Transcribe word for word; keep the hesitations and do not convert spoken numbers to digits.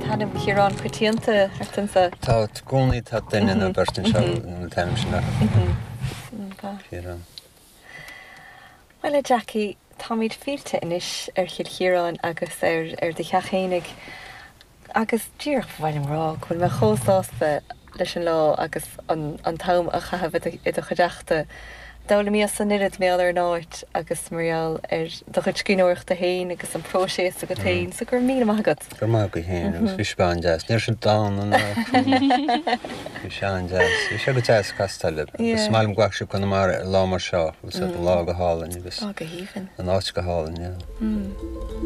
Tá an t-ainm Ciarán coitianta thart anseo. Tá i gcónaí tá duine nó beirt anseo an t-ainm sin acu. Ciarán. Well a Jackie, táimid fillte anois ar Chill Chiaráin agus ar ar do theach fhéinig agus díreach ba mhaith liom rá go bhfuil mé chomh sásta leis an lá agus an an t-am a chaitheamh i do chuideachta. D'fhoghlaimíos an oiread mar gheall ar an áit agus mar gheall ar do chuid scríbhneoireachta féin agus an próiseas agat féin, so go raibh míle maith agat. Go raibh maith agat féin agus bhí sé an-deas. Ní raibh sé dána ná Bhí sé an-deas. Bhí sé go deas castáil libh. Agus is maith liom go bhfaca sibh Conamara ar lá mar seo, agus an lá go hálainn agus Lá go haoibhinn. an áit go hálainn, yeah.